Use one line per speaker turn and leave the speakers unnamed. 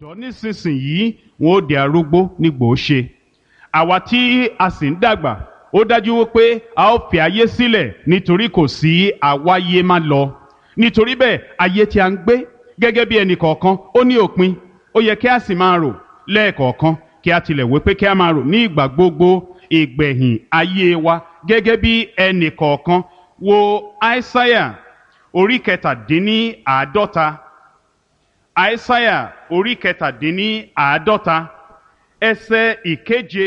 Ọ̀dọ́ nísinsìnyí wọn ó di arúgbó nígbò ó ṣe. Àwa tí a sì ń dàgbà, ó dájú wípé a ó fi ayé sílẹ̀ nítorí kò sí àwáyé má lọ. Nítorí bẹ́ẹ̀, ayé tí a ń gbé gẹ́gẹ́ bí ẹnì kọ̀ọ̀kan ó ní òpin. Ó yẹ kí a sì máa rò lẹ́ẹ̀kọ̀ọ̀kan, kí a tilẹ̀ wípé kí a máa rò ní ìgbà gbogbo ìgbẹ̀yìn ayé wa gẹ́gẹ́ bí ẹnì kọ̀ọ̀kan. Wo Aísáyà orí 47. Aísáyà orí 47, ẹsẹ̀ ìkeje.